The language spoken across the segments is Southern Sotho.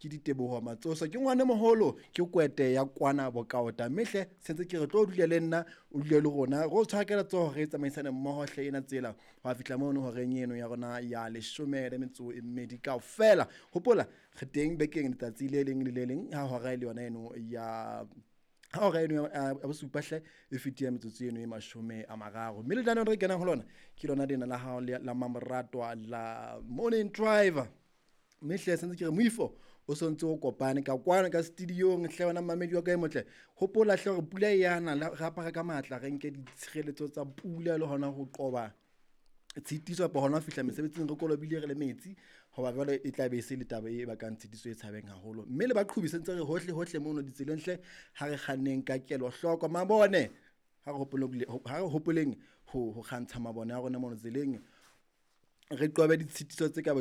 Ke Diteboho Matsoso, ke ngwane moholo, ke kwete ya kwana bokaota. Mme hle sentse ke re tlo dule le nna, o dule le rona, re o tshwara ka letsoho, re tsamaisane mmoho hle ena tsela ho a fihla mono horeng eno ya rona ya 12 kaofela. Hopola re teng bekeng letsatsi le leng le le leng ha hora e le yona eno ya ha hora eno ya bosupa hle e fetile metsotso eno e 30. Mme lenaneo re kenang ho lona ke lona lena la hao la Mamoratwa la Morning Drive. Mme hle sentse ke re moifo o sontse o kopane ka kwana ka studiong hle wena mamedi wa ka e motle. Hopola hle hore pula e yana, re apare ka matla, re nke ditshireletso tsa pula le hona ho qoba tshitiso kapa hona ho fihla mesebetsing re kolobile re le metsi, hoba jwale e tla be e se le taba e bakang tshitiso e tshabeng haholo. Mme le baqhobi sentse re hohle hohle mono ditseleng hle, ha re kganneng ka kelohloko. Mabone ha re hopoleng ho kgantsha mabone a rona mono tseleng, re qobe ditshitiso tse ka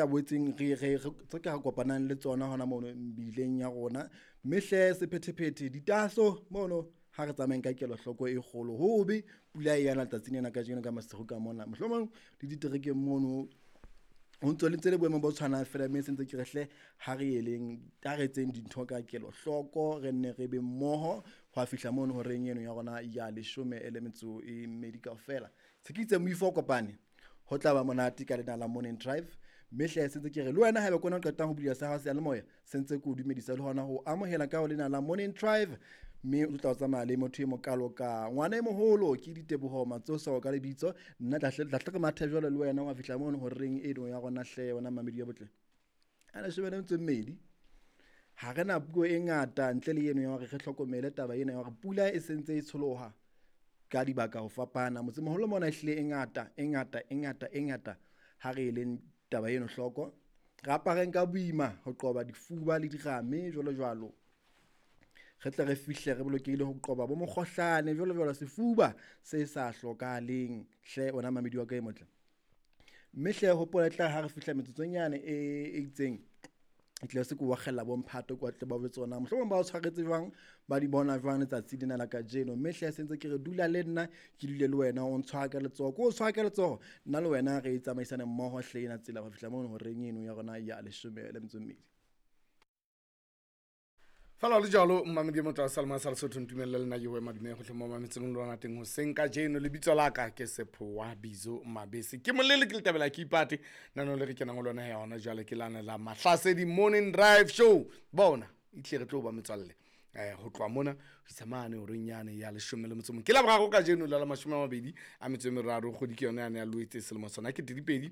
boetseng re tse ka kopanang le tsona hona mono mebileng ya rona. Mme hle sephethephethe ditaso mono ha re tsamayeng ka kelohloko e kgolo. Hobe pula e yana letsatsing lena kajeno ka masiru ka mona, mohlomong le diterekeng mono ho ntso le ntse le boemong bo tshwanang fela. Mme sentse ke re hle ha re eleng, ha re etseng dintho ka kelohloko, re nne re be mmoho ho a fihla mono horeng eno ya rona ya 12 kaofela. Se ke itse moifo o kopane, ho tla ba monate ka lena la Morning Drive. Mme hle sentse ke re le wena haeba kona o qetang ho bula sa hao seyalemoya, sentse ke o dumedisa le hona ho amohela ka ho lena la Morning Drive. Mme o tla o tsamaya le motho e mokalo ka ngwana e moholo, ke Diteboho Matsoso ka lebitso. Nna tla hle re mathe jwalo le wena wa fihla mono horeng eno ya rona hle wena mamedi ya botle. A 12. Ha re na puo e ngata ntle le eno ya hore re hlokomele taba ena ya hore pula e sentse e tsholoha ka dibaka ho fapana. Motsemoholo mona ehlile e ngata, e ngata, e ngata, e ngata. Ha re eleng taba eno hloko, re apareng ka boima ho qoba difuba le dirame jwalo jwalo. Re tle re fihle re bolokehile ho qoba bo mokgohlane jwalo jwalo, sefuba se sa hlokahaleng hle wena mamedi wa ka e motle. Mme hle hopola tla ha re fihla metsotsonyane e itseng, e tle se ke wa kgella bo mphato kwa tle ba botse tsona, mohlomong ba o tshwaretse jwang, ba di bona jwang letsatsi lena la kajeno. Mme hle sentse ke re dula le nna, ke dule le wena, o ntshwara ka letsoho, ke o tshwara ka letsoho, nna le wena re tsamaisane mmoho hle ena tsela ho fihla mono horeng eno ya rona ya 12. Fela le jalo mmamedi motho wa Salma sa Lesotho, ntumelle le nna ke ho madume go hle mo mametseng le lona teng hoseng kajeno. Lebitso la ka ke Sephowa Bizo Mabese, ke molele ke letabela ke ipate nano le re kenang ho lona ya hona jwale ke lana la Mahlasedi Morning Drive Show. Bona itle re tlo ba metswalle ho tloha mona ho isa mane horeng yane ya 11. Ke la boraro kajeno la 23 kgwedi ke yona yane ya Loetse selemo sona ke 2026.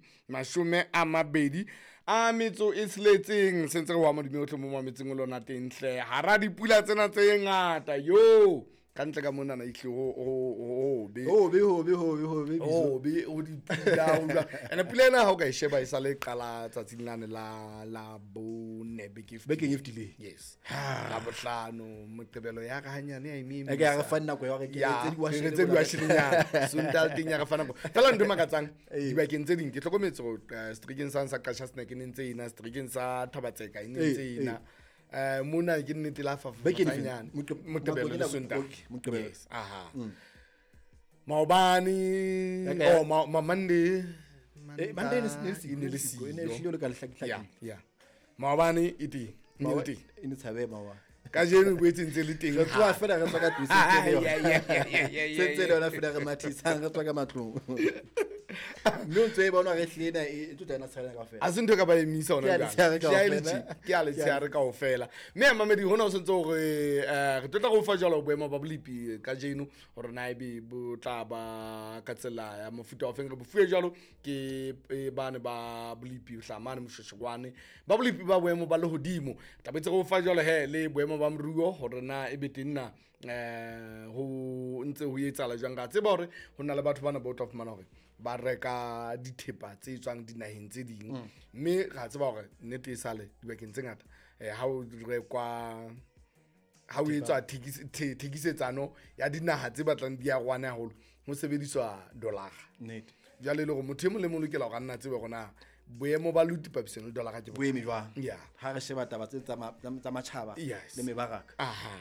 Sentse re wa madume otlhe mo mametseng o lona teng hle hara dipula tsena tse ngata yo ka ntle ka monana ihle ho be ho be ho be ho be ho be ho be ho dipula ho jwang. Ene pula ena ha o ka e sheba e sale qala tsatsing lane la bone beke bekeng e fetileng. Yes, la bohlano Moqebelo ya re hanyane ya eme e ke ya re fa nako ya hore ke tse di washelenyana Sontaha teng ya re fa nako fela. Ntho e makatsang dibakeng tse ding ke hlokometse hore seterekeng sa Qacha's Nek e ne ntse ena, seterekeng sa Thabatseka e ne ntse ena. Mona ke nnete la fafatsanyane Moqebelo le Sontaha. Moqebelo. Yes, aha. Maobane oh Monday, Monday ne e ne le siyo. E ne hlile le ka lehlakihlaki. Ya, ya. Maobane e teng, e ne le teng. E ne tshabe maobane. Kajeno e boetse ntse le teng. Re tloha fela re tswa ka tlung, se ntse le yona. Ya, Se ntse le yona fela re mathisang, re tswa ka matlong. Mme o ntse e bona hore ehlile ena e tlo tla ena tshelela kaofela. Ha se ntho e ka ba emisa hona Ke a jwale. letshehare Ke a kaofela. ke a letshehare kaofela. Mme ya mamedi hona o sentse hore re tlo tla go fa jwalo boemo ba bolepi kajeno hore na ebe bo tla ba ka tsela ya mofuta wa feng. Re bo fuwe jwalo ke bane ba bolepi hlamane Moshweshwe ba bolepi ba boemo ba lehodimo. Tla boetse re o fa jwalo he le boemo ba moruo hore na ebe teng na ho ntse ho etsahala jwang. Ka tseba hore ho na le batho bana ba o tla fumana hore ba reka dithepa tse tswang dinaheng tse ding. Mme ra tseba hore nnete e sale dibakeng tse ngata ha o rekwa, ha o etswa thekisetsano ya dinaha tse batlang di arohane haholo, ho sebediswa dollar. Nnete. Jwale e le hore motho e mong le mong o lokela hore a nna tsebe hore na boemo ba luti papisong le dollar ke Bo eme jwang? Ya. Ha re sheba taba tse tsa matjhaba Yes. le mebaraka. Aha.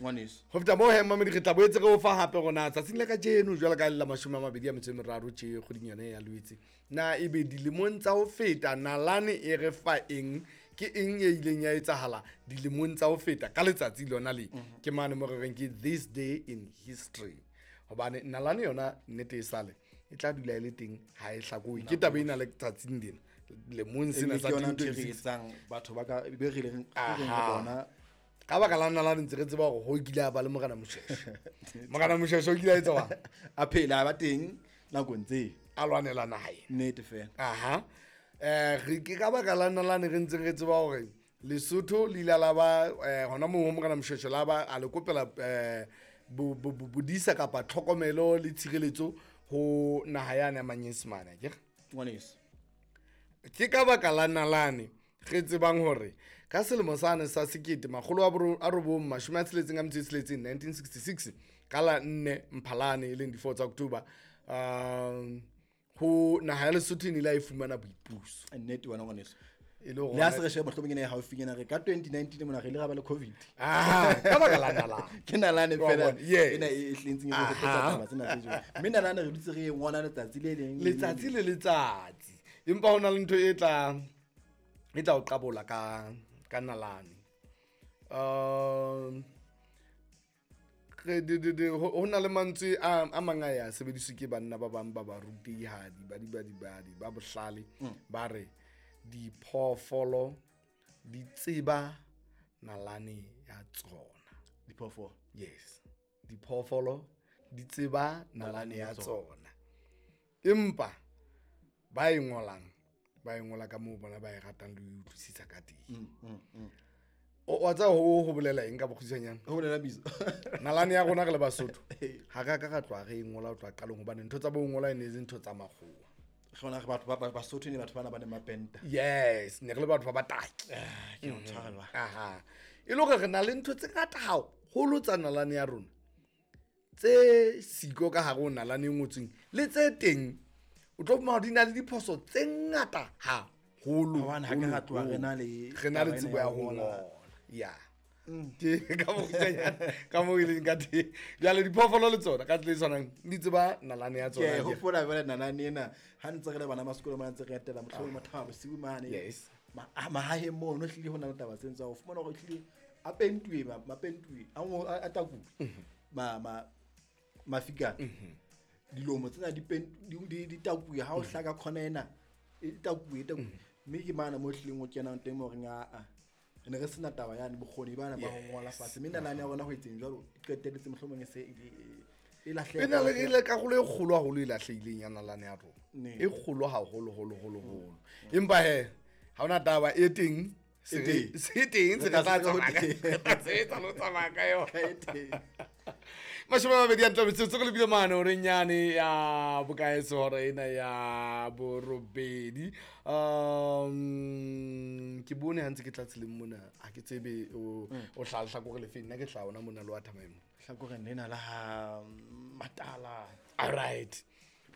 Ngwaneso. Ho feta moo he, mamedi, re tla boetse re o fa hape rona tsatsing la kajeno jwalo ka le la 23 tje kgweding yone ya Loetse. Na ebe dilemong tsa ho feta nalane e re fa eng ke eng e ileng ya etsahala dilemong tsa ho feta ka letsatsi lona le. Ke mane mo re reng ke this day in history. Hobane nalane yona nnete e sale e tla dula e le teng, ha e hlakohe. Ke taba ena le tsatsing lena lemong sena Ebile sa ke yona ntho e re 2026. etsang batho ba ka be re leng re reng re Aha. bona. Ka baka la nalane ntse re tseba hore ho kile a ba le Morena Moshweshwe. Morena Moshweshwe o kile a etsa jwang? A phela a ba teng nakong tse. A lwanela naha ena. Nnete fela. Aha. Re ke ka baka la nalane re ntseng re tseba hore Lesotho le ile la ba hona moo ho Morena Moshweshwe la ba a le kopela bodisa kapa tlhokomelo le tshireletso ho naha yane ya Manyesemane, akere? Ngwaneso. Ke ka baka la nalane re tsebang hore ka selemo sane sa 1966, 1966, ka la 4 Mphalane e leng di-4 tsa October, ho naha ya Lesotho e ne ile ya e fumana boipuso. Nnete wena ngwaneso. E le hore Le ha se re sheba mohlomong ena e haufinyana re ka 2019 mona re ile ra ba le COVID. Aha, ka baka la nalane. Ke nalane Wa fela bona, yes. ena e tletseng e re hopotsa Aha. taba tsena tse jwalo. Mme nalane re dutse re e ngola letsatsi le leng le le Letsatsi leng. le letsatsi. Empa ho na le ntho e tla o qabola ka nalane. Ho na le mantswe a mang a ya sebediswe ke banna ba bang ba barutehadi, ba dibadibadi, ba bohlale, ba re diphoofolo di tseba nalane ya tsona. Diphoofolo. Yes. Diphoofolo di tseba nalane ya tsona. Empa ba e ngolang, ba e ngola ka moo bona ba e ratang le ho e utlwisisa ka teng. Wa tseba ho bolela eng ka bokgutshwanyane? Ho bolela bitso. Nalane ya rona re le Basotho, ha re a ka ra tloha re e ngola ho tloha qalong, hobane ntho tsa bo ngola e ne e se ntho tsa makgowa. Re bona re batho ba Basotho ne batho bana ba neng ba penta. Yes, ne re le batho ba bataki. Ah, ke o tshwarela. Aha. E le hore re na le ntho tse ngata haholo tsa nalane ya rona, tse siko ka hare ho nalane e ngotsweng, le tse teng o tlo fumana di na le diphoso tse ngata haholo. Hobane ha ke ra tloha re na le re na le taba ena tsebo ya ya ho ho ngola. ngola. Ya. Ke ka bokgutshwanyane ka moo e leng ka teng. Jwale diphoofolo le tsona ka tsela e tshwanang di tseba nalane ya Ke tsona. a hopola jwale nalane ena ha ntse re le bana ba sekolo mona ntse re etela mohlomong Mathaba bosiu mane. Yes. Mahaheng mono hlile ho na le taba tse ntse o fumana hore hlile a pentuwe, mapentuwe, a a takuwe. Mafika. Dilomo tsena di di takuwe ha o hlaka khona ena, e takuwe, e takuwe. Mme ke mana mo hlileng o kenang teng mo reng a. Ne re sena taba yane bokgoni bana ba ho ngola fatshe. Mme nalane ya rona ho etseng jwalo, e qetelletse mohlomong e se e lahleha. E na le e le karolo e kgolo haholo e lahlehileng ya nalane ya rona. Ne. E kgolo haholo, holo, holo, holo. Empa he, ha hona taba e teng, se E teng. se teng, se Re re tla tla se tsamaya ka teng. re tla sebetsa le ho tsamaya ka yona. E teng. 20 a ntle metsotso re lebile mane horeng yane ya bokae hora ena ya borobedi. Ke bone ha ntse ke tla tseleng mona, ha ke tsebe o hlaha lehlakore le feng, nna ke hlaha hona mona le wa Thamaemo. Hlakoreng lena la ha Matala. All right.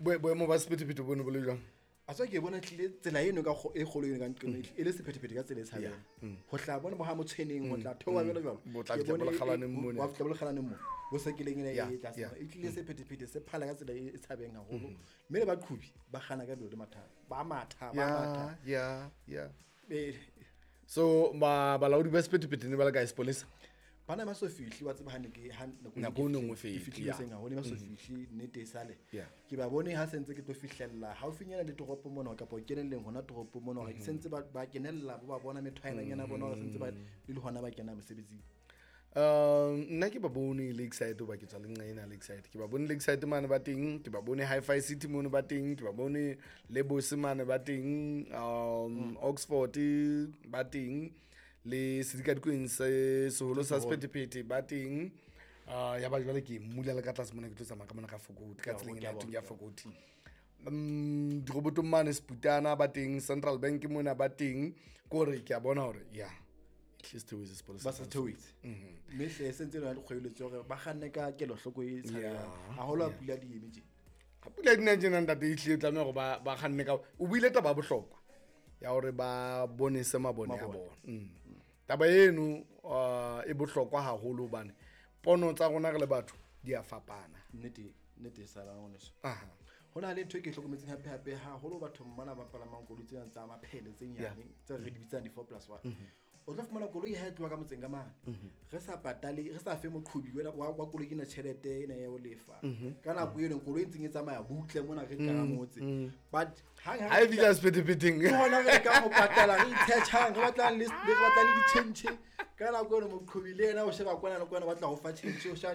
Boemo ba sephethephethe bone bo le jwang? A tswa ke bona tlile tsela eno ka e kgolo eno ka nqeno e le sephethephethe ka tsela e tshabehang. Ho tla bona bo ha Motshweneng, ho tla theoha jwalo jwalo. Bo tla Ke fihla bone bo Lekgalaneng mone. Wa fihla bo Lekgalaneng mone. Bo sekeleng ena Yeah, e tlase. yeah. E tlile sephethephethe se phala ka tsela e tshabehang haholo. Mme le baqhobi ba kganna ka lebelo le mathata. Ba matha, ba matha. Yeah, yeah, yeah. So balaodi ba sephethephethe ne ba le kae sepolesa? Bana ba so fihle, wa tseba ha ne ke ha Nako e nngwe ke fete, fihlile yeah. hoseng haholo, ba so fihle nnete e sale. Yeah. Ke ba bone ha sentse ke tlo fihlella haufinyana le toropo mona kapa kenelleng hona toropo mona hore sentse ba kenella bo ba bona methwaelanyana bona hore sentse ba le hona ba kena mosebetsing. Nna ke ba bone Lakeside hoba ke tswa le nqa ena Lakeside. Ke ba bone Lakeside mane ba teng, ke ba bone Hi-Fi City mono ba teng, ke ba bone Lebose mane ba teng, Oxford ba teng, le sedikadikweng se seholo sa sephethephethe ba teng. Ya ba jwale ke mmula le ka tlase mona ke tlo tsamaya ka mona ka Fokoti, ka tseleng ena ya teng ya Fokoti. Dirobotong mane Seputana ba teng, Central Bank mona ba teng. Ke hore ke a bona hore ya at least theohetse sepolesa. Ba sa theohetse. Mme hle sentse le yona dikgoeletso hore ba kganne ka kelohloko e tshabehang. Haholo ha pula di eme tje. Ha pula di na tjena ntate, ehlile o tlameha hore ba kganne ka, o buile taba ya bohlokwa ya hore ba bonese mabone a Mabone. bona. Taba eno e bohlokwa haholo hobane pono tsa rona re le batho di a fapana. Nnete, nnete e sala ngwaneso. Aha. Ho na le ntho e ke e hlokometseng hape hape haholo bathong bana ba palamang koloi tsena tsa maphele tse nyane tse re di bitsang di-4+1. O tlo fumana koloi ha e tloha ka motseng ka mane, re sa patale, re sa fe moqhobi wa koloi ena tjhelete ena ya ho lefa. Ka nako eno koloi e ntseng e tsamaya butle mona re ka motse, but hang Ha e fihla sephethephetheng, ke hona re lekang ho patala, re itshetjhang, re batlang le re batlang le ditjhentjhe. Ka nako eno moqhobi le yena o sheba kwana le kwana, o batla ho fa tjhentjhe, o sheba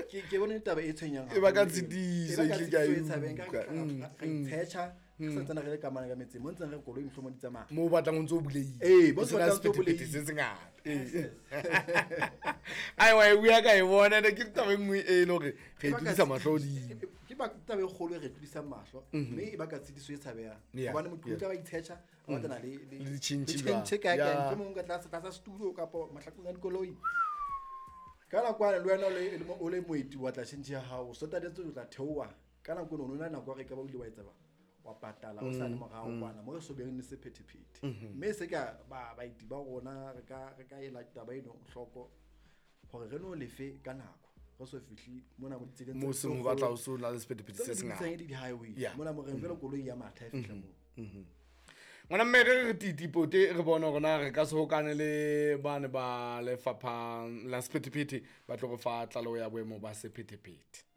ke bone taba e tshwenyang E baka haholo eo. tshitiso, E baka ehlile ke a tshitiso e tshabeng. Ka utlwa. re itshetjha, re sa ntsane re le ka mane ka metseng mo ntseng re koloi mohlomong di tsamaya. Moo o batlang o ntso o bulehile. Ee, mo O o sena batlang o ntso o sephethephethe bulehile. se sengata. Ee. Aiwa, e bua ka e bona, ene ke taba e nngwe e le hore re e tlodisa mahlo hodimo. Ke taba e kgolo e re tlodisang mahlo, mme e baka tshitiso e tshabehang. Hobane moqhobi o tla ba itshetjha, a batlana Le ditjhentjhe le tjhentjhe kae kae, mohlomong ka tlasa setulo kapa mahlakoreng a dikoloi. Ka nako yane le wena o le moeti wa tla tjhentjhe ya hao, o so tatetse o tla theoha. Ka nako eno o no na le nako ya hore ekaba o ile wa etsa wa patala o sa le morao kwana mo re so beng le sephethephethe. Mme se ka baeti ba rona re ka ela taba eno hloko hore re no lefe ka nako, re so fihle mona mo ditseleng Moo seng ho batla ho so na le sephethephethe tse se re di sengata. bitsang e le di-highway. Mona mo reng jwale koloi ya matha e fihla moo. Ngwana mme, re titipote re bone hore na re ka se hokane le bane ba lefapha la sephethephethe ba tlo re fa tlaleho ya boemo ba sephethephethe.